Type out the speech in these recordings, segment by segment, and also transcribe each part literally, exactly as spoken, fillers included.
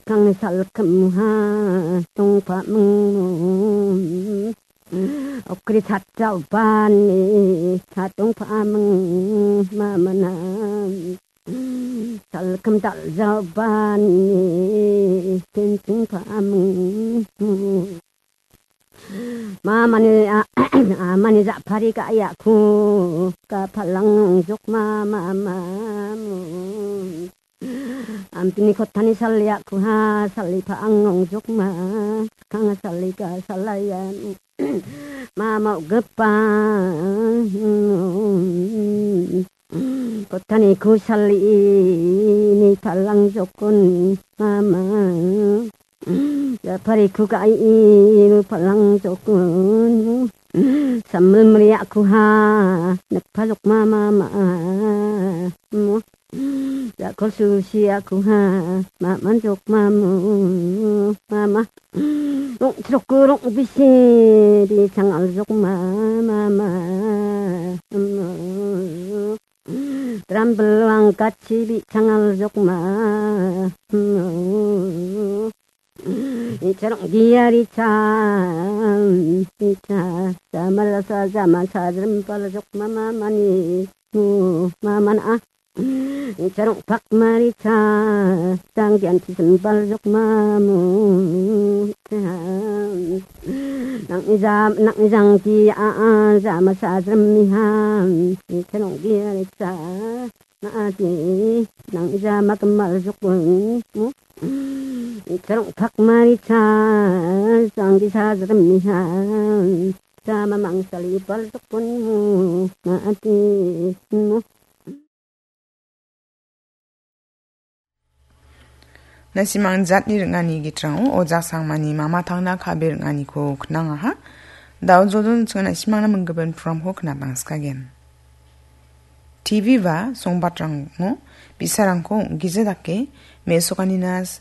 Kang salkimha tongpaming. Okri chatjaobani chatongpaming mamana. Salkim dal·jaobani kenchingpaming. Mamani a-, amani ja·pari ka·iako ka palang jok mama mamu. Ampini kotani saliako ha salipa ang ong jok ma. Kanga salika salayan. Mama gipa. Kotani kusali ni palang jokon mama. Japari kukai ni palang jokon. Sambil meriak kuha, nekpa jok mama ma. Jakol susi aku ha, maman jok mamu, mama. Rong trok rong bisi, di sangal jok mama, mama. Trambel angkat si di sangal jok ma. Icha rong dia richa, icha, sama rasa sama sa jrem pal jok mama mani, mu, mama na. Icha rong pak maricha, tang dian ti sembal jok mamu. Nang ijam, nang ijang ti a, a, sama sa jrem mi ham. Icha rong dia richa. Ati, nang ija makemal jokon, mu? Icha rong pak maricha, sanggi sajrem niha. Sama mangsali pal jokon, mu? Ati, mu? Nasimang jatni ring·ani gitrango ojak sangmani mama tangna kabe ring·aniko knangaha. Dao jodon chingan nasimangna minggimin programko knatangskagen. T V ba songbatrango bi·sarangko ong·gija dake me·sokanina s-,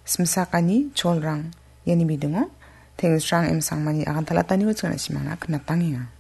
simsakani cholrang iani bidingo Tengsrang M Sangmani agantalataniko chingan nasimangna knatangenga.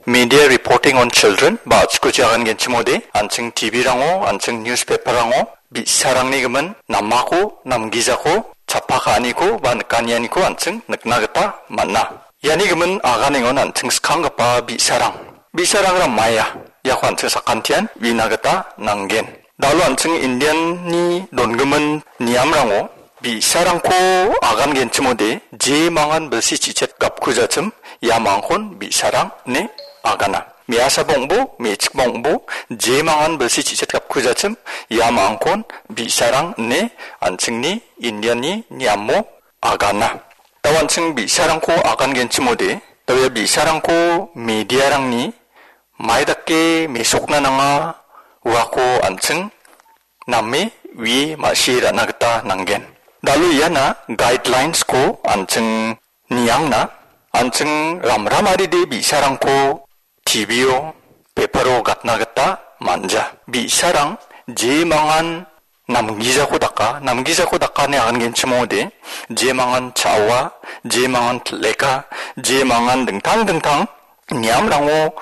Media reporting on children, ba a·chikuchi agangenchimode, an·ching T V-rango, an·ching newspaper-rango, bi·sarangni gimin namako, namgijako, chappa ka·aniko, ba nikanianiko an·ching nikna gita man·a. Iani gimin aganengon an·ching skanggipa bi·sarang. Bi·sarangra maia, iako an·ching sakantian uina gita nanggen. Dalo an·ching Indian-ni dongimin niamrango bi·sarangko agangenchimode, je mangan bilsi chichet gapkujachim, ia mangkon bi·sarang ine agana. Me·asaba ong·bo, me·chikba ong·bo, je mangan bilsi chichet gapkujachim, ia mangkon bi·sarang ine an·chingni Indian-ni niamo agana. Dao an·ching bi·sarangko agangenchimode, dao ia bi·sarangko mediarangni mai dake mesokna nanga, uako an·ching name wie ma·sie ra·na gita nanggen. Dalo iana guidelines-ko an·ching niangna, an·ching ramramaride bi·sarangko T V-o, paper-o gatna gita man·ja. Bi·sarang je mangan namgijako daka, namgijako dakani agangenchimode, je mangan cha·oa, je mangan til·eka, je mangan dingtang dingtang niamrango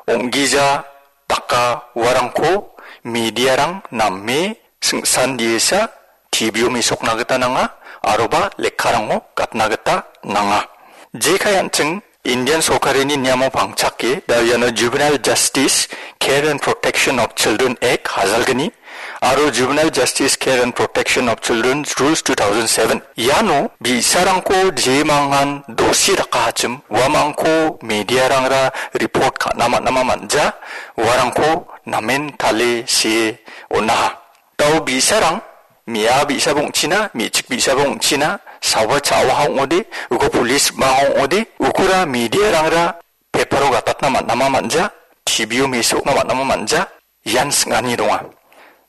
ong·gija daka uarangko mediarang name singsan diesa T V-o mesokna gita nanga, aroba lekkarango gatna gita nanga. Jekai an·ching Indian sorkarini niamo pangchake, da iano Juvenile Justice Care and Protection of Children Act hajalgni aro Juvenile Justice Care and Protection of Children's Rules two thousand seven. Iano bi·sarangko jemangan dosi dakahachim, uamangko mediarangra report ka·na man·ama man·ja, uarangko namen tale see on·aha. Dao bi·sarang, me·a bi·saba ong·china, me·chik bi·saba ong·china, sawa cha·oha ong·ode, uko police ma ong·ode, ukora mediarangra paper-o gatatna man·ama man·ja, T V-o mesokna man·ama man·ja, ian sing·ani donga.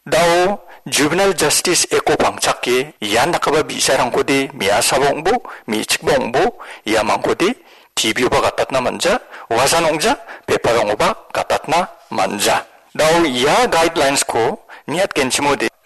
Dao Juvenile Justice Act-o pangchake ian dakgipa bi·sarangkode me·asaba ong·bo, me·chikba ong·bo, iamangkode T V-oba gatatna man·ja, uasan ong·ja, paper-rangoba gatatna man·ja. Dao ia guidelines-ko niatgenchimode